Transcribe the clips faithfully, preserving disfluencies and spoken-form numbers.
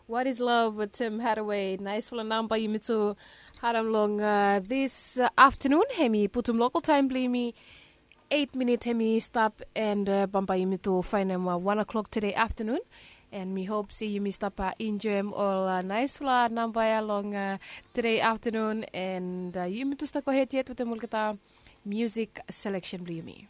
What is love with Tim Hathaway? Naisfala namba yumi tu harim long uh, this uh, afternoon. Hemi putum local time bli yumi eight minute hemi stap and uh, bamba yumi tu fainem uh, one o'clock today afternoon. And mi hope si yumi stap uh, enjoy him all uh, naisfala namba ya long uh, today afternoon and uh, yumi tu stap go ahead yet with the mulkata music selection bli yumi.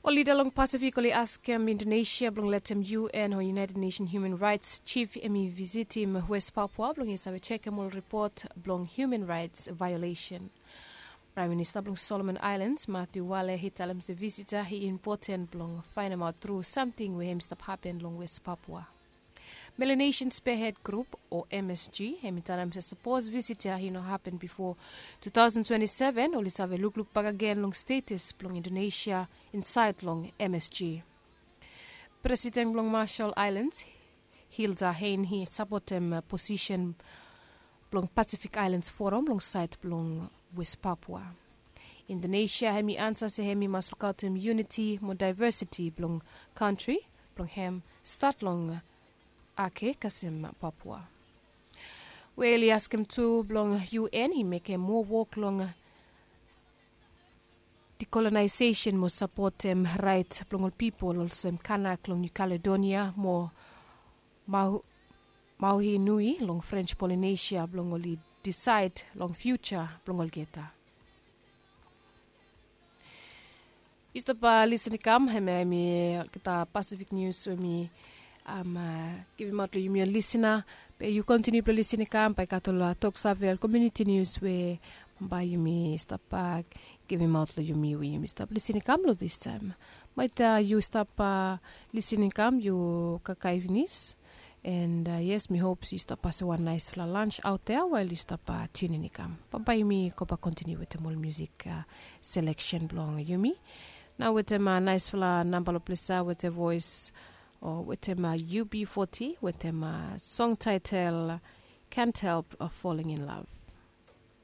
Ol lida long Pasifik oli askem Indonesia blong letem U N o United Nations Human Rights Chief hemi visitim West Papua blong i save jekem ol ripot blong human rights violation. Praem Minista blong Solomon Islands Matthew Wale i talem se visita i impoten blong faenemaot tru samting we hemi stap hapen long West Papua. Melanesian Spearhead Group o M S G hemi talem se sapos visit ya i no hapen bifo two thousand twenty-seven oli save lukluk bakegen long status blong Indonesia insaed long M S G. Presiden blong Marshall Islands Hilda Hein i sapotem posisen blong Pacific Islands Forum long saed blong West Papua. Indonesia hemi ansa se hemi mas lukaotem uniti mo daevesiti blong kantri blong hem stat long Ake kasem Papua. We oli askem tu blong U N i mekem moa wok long dekolonaiseisen mo sapotem raet blong ol pipol olsem Kanak long New Caledonia mo Mau, Mauhi Nui long French Polynesia blong oli disaed long fiuja blong olgeta. Yu stap lisin i kam hemia hemi olgeta Pacific News we mi givim aot long yumi ol lisina. Be yu kontiniu blong lisin i kam bae i gat ol toksave ol komuniti nius we bae yumi stap givim aot long yumi we yumi stap lisin i kam long distaem. Maet yu stap lisin i kam yu kakae finis. And yes, mi hop se yu stap pasem wan naesfala lans aot ya wael yu stap tiunin i kam. Bambae yumi go bak kontiniu wetem ol musik seleksen blong yumi. Nao wetem naesfala namba long ples ya wetem voes o wetem U B forty wetem song taetel Can't Help Falling in Love.